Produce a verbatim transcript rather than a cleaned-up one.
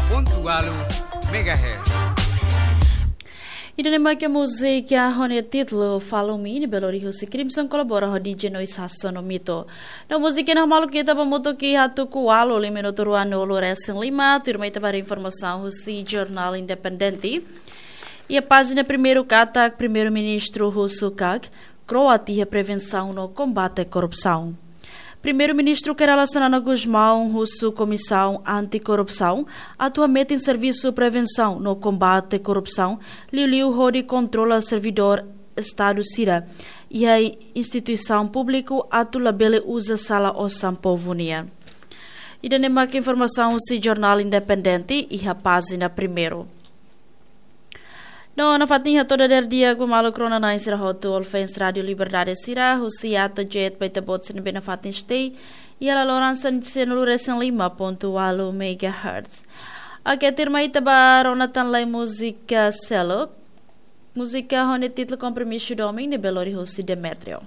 pontu ualu megahertz. Ida-ne'e mak múzika ho nia títulu Follow Me, ne'ebé lori husi Crimson kolabora ho D J Noise Hasono Mito. No múzika ne'e hamaluk ita ba hamutuk iha tuku ualu, lima minutu ruanulu resin lima, tuirmai ita ba haree informasaun husi Jornál Independente. Iha pájina primeiru katak Primeiru-Ministru husu katak kro'at iha prevensaun no kombate korrupsaun. Primeiru-Ministru Kay Rala Xanana Gusmão husu Komisaun Anti-Korrupsaun atu hametin servisu prevensaun no kombate korrupsaun, liuliu hodi kontrola servidór Estadu sira iha instituisaun públiku atu labele uza sala osan povu nian. Ida-ne'e mak informasaun husi Jornál Independente iha pájina primeiru. No nafatin hato'o dadeer di'ak ba maluk rona-na'in sira hotu, all fans Rádio Liberdade sira, husi ato jet ba ita-boot sira ne'ebé nafatin stay iha laloran sanulu resin lima pontu ualu megahertz. Oke, tuirmai ita ba rona tan lai múzika seluk. Múzika ho nia títulu Kompromisu Domin, ne'ebé lori husi Demetrio.